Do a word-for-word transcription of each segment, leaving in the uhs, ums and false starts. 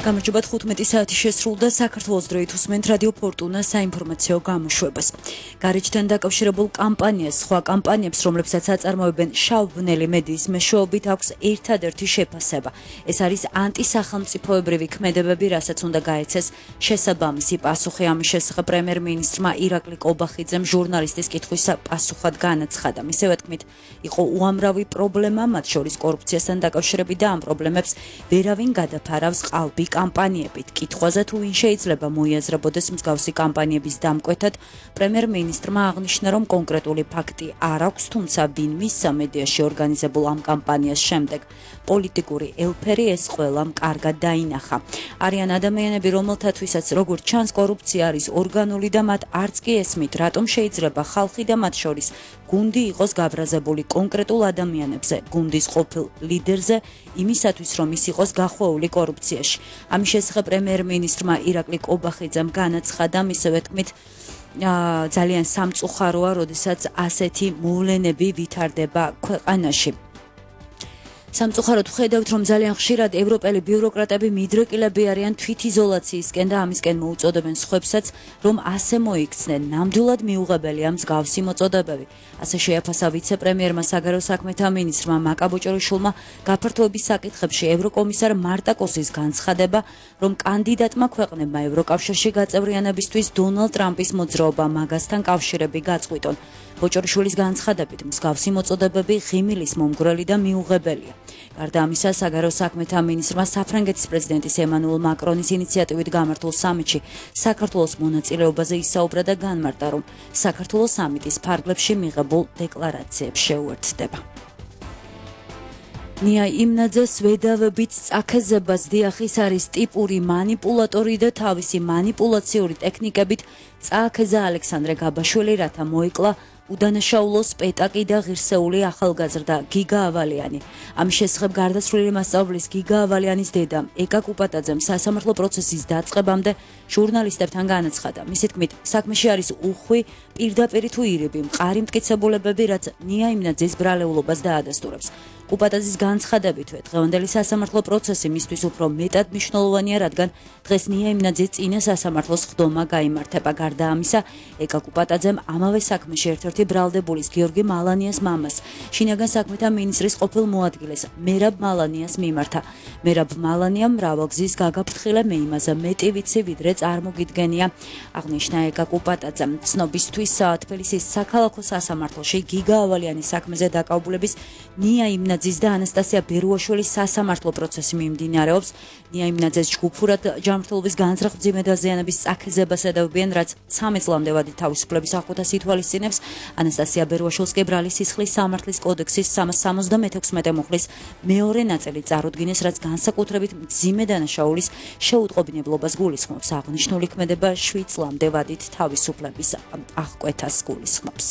გამარჯობა თხუთმეტი საათი შესრულდა საქართველოს დროით უსმენთ რადიო ფორტუნა საინფორმაციო გამოშვებას. Გარეჯთან დაკავშირებულ კამპანიას, სხვა კამპანიებს, რომლებსაც აწარმოებენ შავ-ბნელი მედიის მეშვეობით აქვს ერთადერთი შეფასება. ეს არის ანტისახელმწიფოებრივი ქმედებები, რასაც უნდა გაეცეს შესაბამისი პასუხი. ამის შესახებ პრემიერ-მინისტრმა ირაკლი კობახიძემ ჟურნალისტის კითხვის პასუხად განაცხადა. მისივე თქმით, იყო უამრავი პრობლემა, მათ შორის კორუფციასთან დაკავშირებით და ამ პრობლემებს ვერავინ გადაფარავს ყალბი კამპანიებით. კითხვაზე თუ ვინ შეიძლება მოიაზრებოდეს მსგავსი კამპანიების დამკვეთად, პრემიერ-მინისტრმა აღნიშნა, რომ კონკრეტული ფაქტი არ აქვს, თუმცა ვინ მისცა მედიაში ორგანიზებულ ამ კამპანიას შემდეგ პოლიტიკური ელფერი ეს ყველამ კარგად დაინახა. არიან ადამიანები, რომელთათვისაც როგორც ჩანს კორუფცია არის ორგანული და მათ არც კი ესმით, რატომ შეიძლება ხალხი და მათ შორის გუნდი იყოს გაბრაზებული კონკრეტულ ადამიანებზე, გუნდის ყოფილ ლიდერზე, იმისათვის რომ ის იყოს გახვეული კორუფციაში. ამის შესახებ პრემიერ-მინისტრმა ირაკლი კობახიძემ განაცხადა, მისივე თქმით, ძალიან სამწუხაროა, როდესაც ასეთი მოვლენები ვითარდება ქვეყანაში. სამწუხაროდ ხედავთ, რომ ძალიან ხშირად ევროპელი ბიუროკრატები მიდრეკილები არიან თვითიზოლაციისკენ და ამისკენ მოუწოდებენ სხვებსაც, რომ ასე მოიქცნენ. ნამდვილად მიუღებელია მსგავსი მოწოდებები. ასე შეაფასა ვიცე-პრემიერმა საგარეო საქმეთა მინისტრმა მაკა ბოჭორიშვილმა გაფართოების საკითხებში ევროკომისარ მარტაკოსის განცხადება, რომ კანდიდატმა ქვეყნებმა ევროკავშირში გაწევრიანებისთვის დონალდ ტრამპის მოძრაობა მაგასთან კავშირები გაწყვიტონ. ბოჭორიშვილის განცხადებით, მსგავსი მოწოდებები ღიმილის მომგვრელი და მიუღებელია. გარდა ამისა, საგარეო საქმეთა მინისტრმა საფრანგეთის პრეზიდენტის ემანუელ მაკრონის ინიციატივით გამართულ სამიტში საქართველოს მონაწილეობაზე ისაუბრა და განმარტა, რომ საქართველოს სამიტის ფარგლებში მიღებულ დეკლარაციებს შეუერთდება. ნია იმნაძეს ვედავებით წაქეზებას დიახის არის ტიპური მანიპულატორი და თავისი მანიპულაციური ტექნიკებით წააქეზა ალექსანდრე გაბაშვილი, რათა მოიკლა უდანაშაულოს პეტაკი და ღირსეული ახალგაზრდა გიგა ავალიანი. ამის შესახებ გარდაცვლილი მასწავლებლის გიგა ავალიანის დედა ეკა კუპატაძემ სასამართლო პროცესის დაწყებამდე ჟურნალისტებთან განაცხადა. მისი თქმით, საქმეში არის უხვი, პირდაპირი თუ ირიბი, მყარი მტკიცებულებები, რაც ნია იმნაძის ბრალეულობას დაადასტურებს. კუპატაძის განცხადებითვე, დღევანდელი სასამართლო პროცესი მისთვის უფრო მეტად მნიშვნელოვანია, რადგან დღეს ნია იმნაძის წინა სასამართლოს ხდომა გაიმართება. გარდა ამისა, ეკა კუპატაძემ ამავე საქმეში ერთ-ერთი ბრალდებულის გიორგი მალანიას მამას, შინაგან საქმეთა მინისტრის ყოფილ მოადგილეს მერაბ მალანიას მიმართა. მერაბ მალანიამ მრავალგზის გაგაფრთხილა, მე იმაზე მეტი ვიცი, ვიდრე წარმოგიდგენია, აღნიშნა ეკა კუპატაძემ. ცნობისთვის, თბილისის საქალაქო სასამართლოში გიგა ავალიანის საქმეზე დაკავებულების ნია იმნაძის და ანასტასია ბერუაშვილის სასამართლო პროცესი მიმდინარეობს. ნია იმნაძეს ჯგუფურად ჯანმრთელობის განზრახ-მძიმე დაზიანების წაქეზებას ედავებიან, რაც ცამეტ წლამდე ვადი თავისუფლების აღკვეთას ითვალისწინებს. ანასტასია ბერუაშვილს კი ბრალის სისხლის სამართლის კოდექსის სამას სამოცდამექვსმეტე მუხლის მეორე ნაწილი წარუდგინეს, რაც განსაკუთრებით მძიმე დანაშაულის შეუტყობინებლობას გულისხმობს. აღნიშნული ქმედება შვიდ წლამდე ვადით თავისუფლების აღკვეთას გულისხმობს.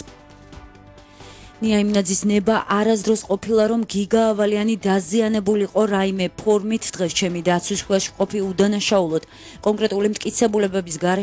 ნია იმნაძის ნება არასდროს ყოფილა, რომ გიგა ავალიანი დაზიანებულიყო რაიმე ფორმით, დღეს ჩემი დაცვის ქვეშ ყოფი უდანაშაულოდ კონკრეტული მტკიცებულებების გარეშე